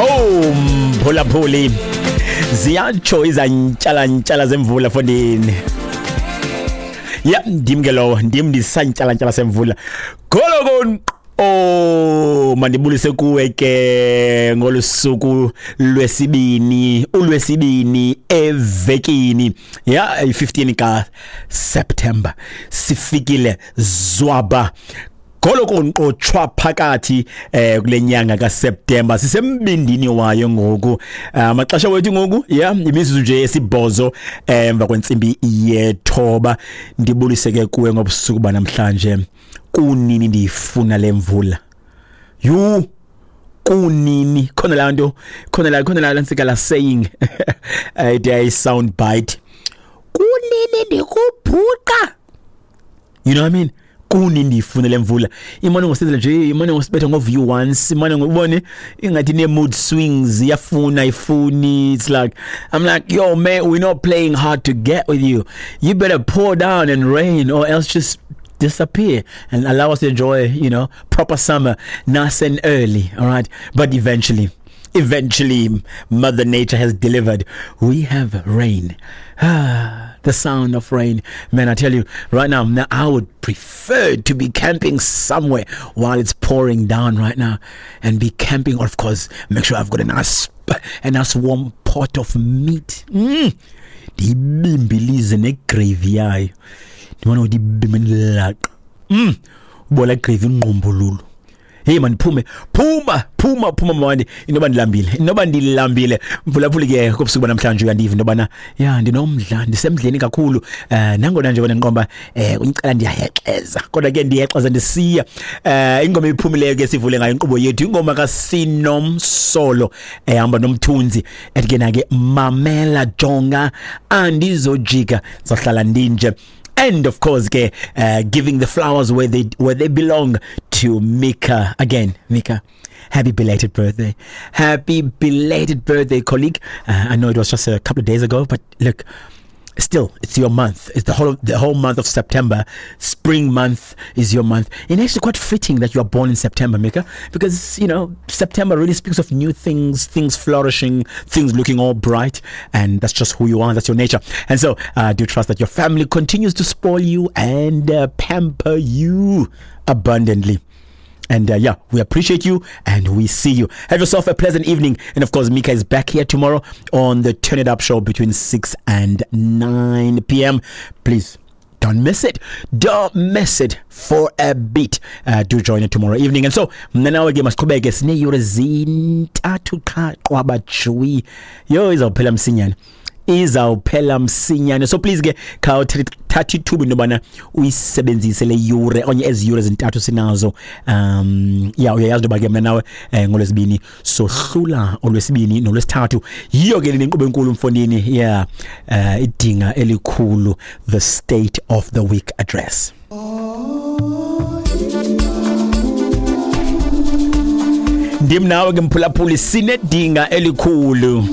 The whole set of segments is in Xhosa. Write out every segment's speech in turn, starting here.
Oh, mphulaphuli, ziyatsho izantyala-ntyala zemvula fondini. Ya, ndim ke lowo, ndim ndisantyala-ntyala semvula. Goloko. Oh, mandibulise kuwe ke ngolu suku lwesibini, ulwesibini evekini. Ya, i-15 ka September. Sifikile zwaba. Goloko nqotshwa phakathi kule nyanga kaSeptember, sisembindini wayo ngoku. Amaxesha wethu ngoku, ya, imizuzu nje esibhozo emva kwentsimbi yethoba. Ndibulise ke kuwe ngobusuku banamhlanje. Kunini ndiyifuna le mvula? Yhu, kunini khona laa nto, khona laa ntsika la saying ethi sound bite, kunini ndikubhuqa, you know what I mean? Kuni ndiyifuna le mvula, imane ngosenzela nje, imane ngosibetha ngo-view once, imane ngobone ingathi ne-mood swings, iyafuna ifuni. It's like, I'm like, yo man, we're not playing hard to get with you. You better pour down and rain or else just disappear and allow us to enjoy proper summer nice and early, all right? But eventually Mother Nature has delivered. We have rain. Ah, the sound of rain. Man, I tell you, right now, I would prefer to be camping somewhere while it's pouring down right now and be camping, of course, make sure I've got a nice warm pot of meat. Ndiyibimbilize negravy yayo. Ndibona ukuthi ibimbe ndilaqa. Ubola gravy ingqumbululu. Hey man, phume, phuma, phuma, phuma mawandi, inoba ndilambile, inoba ndilambile. Mphulaphuli ke kobusuku namhlanje uyandiva into yobana ya ndinomdla, ndisemdleni kakhulu. Nangona nje wena nqomba uncela ndiyahexeza, kodwa ke ndiyexeza ndisiya. Ingoma iphumileyo ke sivule ngayo inkqubo yethu, ingoma kaSinomsolo ehamba nomthunzi ethi ke na ke mamela jonga andizojika, zohlala ndinje. And of course ke giving the flowers where they belong to Mika. Again, Mika, happy belated birthday. Happy belated birthday, colleague. I know it was just a couple of days ago, but look, still it's your month. It's the whole month of September. Spring month is your month, and actually quite fitting that you are born in September, Mika, because September really speaks of new things, things flourishing, things looking all bright, and that's just who you are. That's your nature. And so I do trust that your family continues to spoil you and pamper you abundantly. And yeah, we appreciate you and we see you. Have yourself a pleasant evening. And of course, Mika is back here tomorrow on the Turn It Up show between 6 and 9 p.m. Please don't miss it. Don't miss it for a bit. Do join it tomorrow evening. And so, mna nawe ke masiqhubeke, sineeyure 3 qha qwaba jwi. Yo, izawuphela msinyane. Izawuphela msinyane. So please ke khawuthatha ithuba into yobana uyisebenzise le yure okanye ezi yure 3 sinazo. Ya, uyayazi into yoba ke mna nawe ngolwesibini sohlula, olwesibini nolwesithathu. Yiyo ke le nkqubo enkulu mfondini. Yeah. Idinga elikhulu, the State of the Week Address. Ndim nawe ke mphulaphuli, sinedinga elikhulu.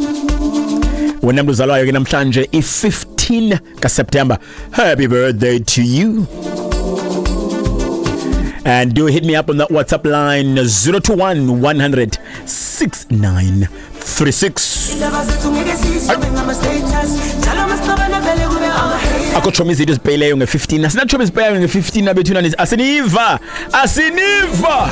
Wena mntu uzalwayo ke namhlanje i-15 kaSeptember, happy birthday to you. And do hit me up on that WhatsApp line, 021 100 6936. Indaba zethu ngeke siyisobe ngama-status njalo masixabana vele kube ama-haters. Akho tshomi izinto ezipheyileyo nge-15, asinatshomi ezipheyayo nge-15 abethuna, asiniva, asiniva.